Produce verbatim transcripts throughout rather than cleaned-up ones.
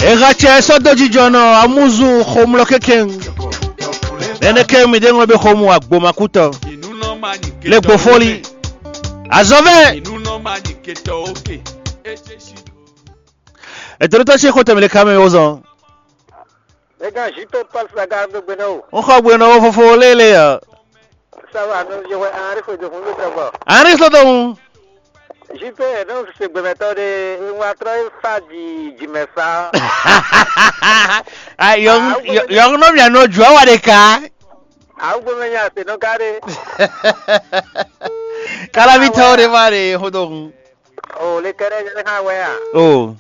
Eha cɛ sɔ́ dó jijɔnɔ amúzu xomlɔ kɛkɛn. Nɛnɛ kɛ mi ɖe ŋlɔ be xomú agbomakútɔ. Le gbofoli. Azɔvɛ. Ètò tó ṣe kó tẹ̀mí lè ká mẹ́ wó zɔn. Mɛ gán Zito Paul Saga ɖó gbe nɔ o. Ń xɔ gbe nɔ wó fofo lélẹ̀ ɔ. Sábà nú yewɛ arífo ìdòkun ló tẹ gbɔ. Arífo tó ń. Zito ẹ̀ náà ṣe gbẹmẹtọ́ de ń wá trọ́ fa di jìmẹ̀ fa. Yɔ̀ngúnɔ́mìà nɔ jù á wà ɖe ká. Àwọn gbẹmẹ yẹn àti nù kárí. Kálábí tọ́ ó de má de xó tó ń. O le kɛɖɛ yɛ hã wɛ a? O.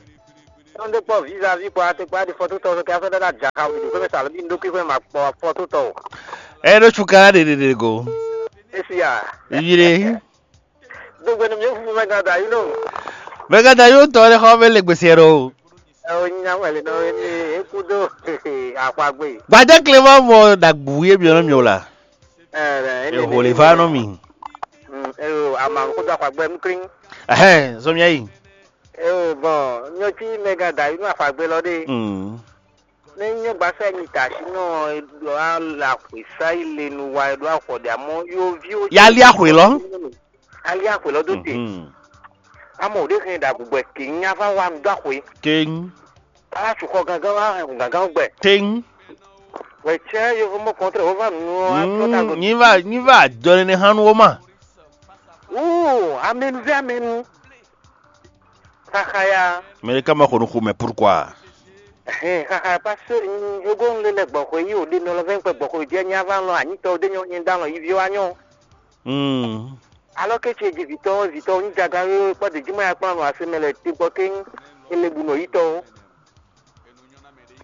Tɔn ɖe kpɔ vizavi kpɔ ate kpɔ adi fɔtotɔ kɛ afɔ ɖe na dza xa wuli xwɛ sa lobi ndo kwi xwɛ ma kpɔ fɔtotɔ o. Ɛ ɖo tsu kana ɖe ɖe ɖe go. Esi a. Yi ɖe. Do gbɛ nu mi fu mɛ gada yi no. Mɛ gada yi tɔ ɖe xɔ bɛ le gbèsè ɖo. Ɛ o nya wɛ le nɔ ni eku do akwa gbe. Gbadé Clément mɔ dagbu ye biɔ nɔ mi o la. Ɛ ɛ. Eho le va nɔ mi. Ɛ o ama ko do akwa gbe mu krin. Ɛhɛn, zɔmia yi. Eo bɔn nyɔtsi mɛ gán da inú àfàgbé lɔ ɖe. Mm. Ne nyɔ gbasa nyi ta si nɔ ɖɔ ala xwe sa yi le nu wa ɖo afɔ ɖe amɔ yo vi o. Ya li axwe lɔ. Ali axwe lɔ do te. Mhm. Amɔ o ɖe hɛn ɖa gbugbɔ ke nya va wa nu do axwe. Keŋ. Ala su xɔ gangan wa hɛn gangan gbɛ. Teŋ. Wɛ tsɛ yovo mɔ kɔntrɛ wo va nu ɔ atrɔ ta go. Nyi va nyi va jɔ ne hanu wo ma. Wuu amɛnu vɛ amɛnu. Xaxa ya. Mais ka ma xɔ nu xomɛ pourquoi? Ɛhɛn, xaxa parce que yogo nu lé lɛ gbɔxɔ yi o ɖe nɔ lɔ vɛ kpɛ gbɔxɔ yi jɛ nya va lɔ anyitɔ ɖe nyɔ nyi da lɔ yi vi wa nyɔ. Hmm. Alɔ ke ce ji vitɔ vitɔ nyi jaga yo kpɔ de jima ya kpɔ nɔ ase mɛ lɛ te gbɔ ke ele bu nɔ yi tɔ.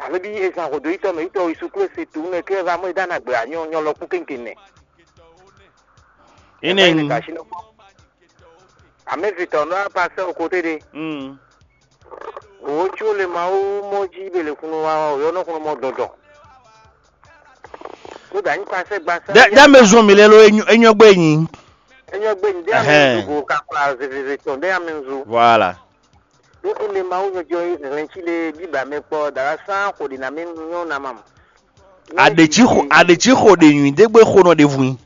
Alo bi ezan xɔ do yi tɔ mɛ yi tɔ yi su klo se tu mɛ ke va mɔ yi da na gbe anyɔ nyɔ lɔ kú kenken nɛ. Ine. Amɛ vitɔ nɔ apa sɛ o kote de. Hmm. Wǒ có le Mawu mɔ jí be le xunu wa ɔ́, yɔ nɔ xunu mɔ dɔdɔ. Kó da nyi kpasɛ gbasa. Dɛ dɛ me zɔn mi lɛ lo enyɔ enyɔ gbe nyi. Enyɔ gbe nyi dɛ ame nzu go kakla zezeze tɔn dɛ ame nzu. Voilà. Ɖó e le Mawu nyɔjɔ hɛn cí le bíbá mɛ kpɔ dala sán xo ɖi na mɛ nyɔ na ma. Aɖetsi xo aɖetsi xo ɖe nyui dé gbe xo nɔ ɖe vun.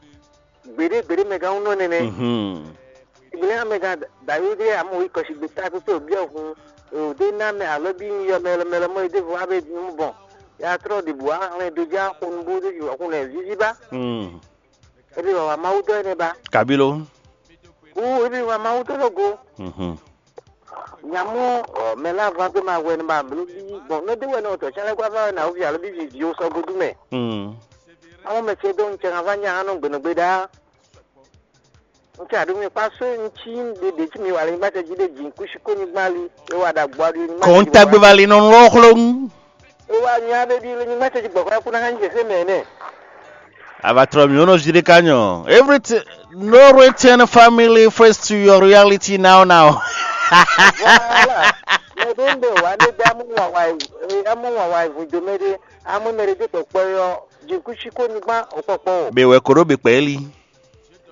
Gbeɖé gbeɖé mɛ gán nɔ nɛnɛ. Mhm. Ìgbélé amɛ gán dayó dé amɔ yi kɔsi gbe ta pépé òbí ọ̀hún. Òdé ná mɛ alɔ bí yɔ mɛlɛ mɛlɛ mɔ ìdí fún abẹ́ ìdí mú bɔn. Ya trɔ ɖe bò ahlɛn do já xo nubó dé ju ọ̀hún lɛ zizi bá. Mm. Ebi wà wà Mawu dɔ ɛnɛ bá. Kabilo. Wú ebi wà Mawu dɔ lɔ go. Mhm. Nyamɔ ɔ mɛ la va dó ma wɛ ne ma blo bí gbɔn ne dé wɛ ne o tɔ tsɛn lɛ gba va wɛ na wo vi alo bí vi vi o sɔ godu mɛ. Mm. Àwọn mɛ ce dó ŋtsɛ hã va nya hã nɔ gbɛnɛgbɛ ɖaa. Ŋtsɛ aɖo mi kpa só ŋtsi ɖe ɖe tsi mi wa le nyigba tɛ dzi ɖe dzi kusi ko nyigba li e wa ɖa gbɔ aɖu nyigba. Kɔn tagbe va li nɔ lɔ xlɔn. E wa nya ɖe ɖi le nyigba tɛ dzi gbɔkɔ ya kuna hã nyi xexeme nɛ. Ava trɔ mi wono zi ɖe ka nyɔ. Everything, no return family first to your reality now now. Voilà. Mɛ ɖe ŋɖe wa ne ɖe amu wa wa amu wa wa evu do mɛ ɖe amu mɛ ɖe ɖe kpɔkpɔ yɔ dzi kusi ko nyigba o kpɔkpɔ o. Be wɛ ko ɖo be kpɛ li.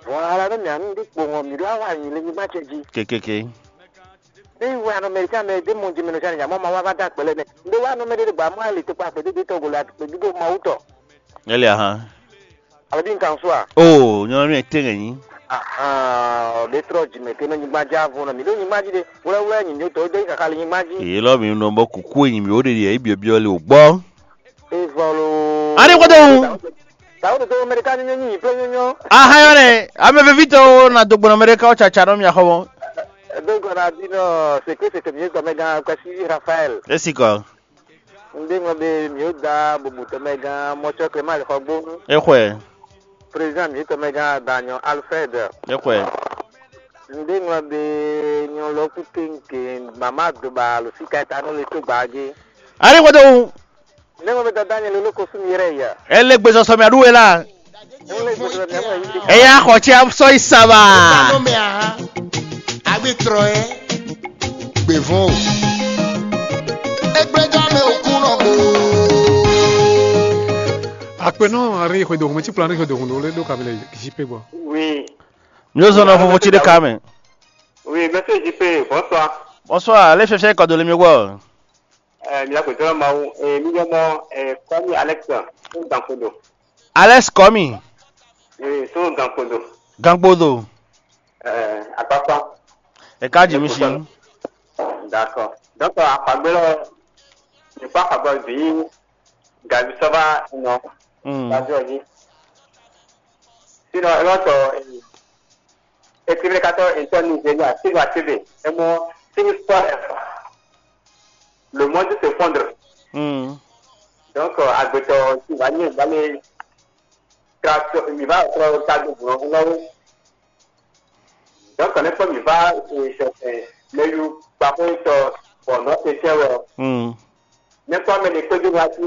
Vɔn ala ɖe mia nu ɖe kpo ŋɔ mi ɖo awa nyi le nyigba ce dzi. Kekeke. Ne yi wɛ anɔ mɛ ɖe mɛ ɖe mɔ jimɛ nɔ sani nyamɔ ma wa va da kpɛlɛ nɛ. Nde wa anɔ mɛ ɖe gba mɔ ali to kpa kpe ɖe tɔ golo akpe ɖiɖo ma wutɔ. Ele ahan. Alo bi nkan so a? O nyɔnu mi te ŋɛ nyi. Ahan, ɖe trɔ jimɛ ke nɔ nyigba dza vo nɔ mi ɖo nyigba dzi ɖe. Wlɛwlɛ nyi mi tɔ ɖe kaka le nyigba dzi. Èyí lɔ mi nɔ bɔ kuku enyi mi wo ɖe ɖi eyi biɔ biɔ le o gbɔ. Evɔlo. Ani kɔtɔ ŋu. Tawo ɖo to Amerika nyɔnyɔ nyi plɔ nyɔnyɔ. Aha yɔ nɛ, ame vevi tɔwo na do gbɔn Amerika wo tsatsa nɔ mia xɔ mɔ. Do gɔna bi nɔ seke seke mi gɔmɛ gan kwasi Rafael. Esi kɔ. Nde ŋɔ be mi o da bubu tɔmɛ gan mɔtsɔ Clement le xɔ gbonu. Exwe. Président mi tɔmɛ gan Danyɔ Alfred. Exwe. Nde ŋɔ be nyɔ lɔ ku kenke mama do ba lo si ka ta no le to gba ge. Ani kɔtɔ ŋu. Nɛmɛ bɛ dada nyɛ lolo ko sumi yɛrɛ ya. Ele gbezɔsɔ mi aɖu wɛ la. Eya xɔ tsi sɔ yi saba. Agbe trɔ yɛ. Gbevɔn o. Egbɛjɔ mɛ o kun nɔ bo. Akpɛnɔ ari xwe do xɔmɛ tsi plan xwe do xɔmɛ le do kamɛ le jipe bɔ. Oui. Mi o zɔn na fofo tsi de kamɛ. Oui, monsieur J P, bonsoir. Bonsoir, le fiafia kɔ do le mi gbɔ. Eh, mi la kwe dɔrɔn Mawu. Eh, mi yɔ mɔ, eh, Kwami Alex, so Gankodo. Alex Kɔmi, Eh, so Gankodo. Gangbodo, Eh, Akpakpa. Eka Jimisi. D'accord. Donc, Akpagbe lɔ, mi kpɔ Akpagbe bi Gabi Sɔba nɔ. Mm. Gabi ɔdi. Sinon, e lɔ tɔ, eh, ekriblekatɔ etɔn Nigeria, Sigo Achebe, e mɔ Sigo Sport, le monde s'effondre. Mm. Donc, agbetɔ si va nyɛ va le tra mi va trɔ ta do gblɔ na wo. Donc, ne kpɔ mi va sɛsɛ, mɛ yu kpakpo tɔ bɔ nɔ te tɛ wɛ. Mm. Ne kpɔ mɛ ne kpedo wa ti.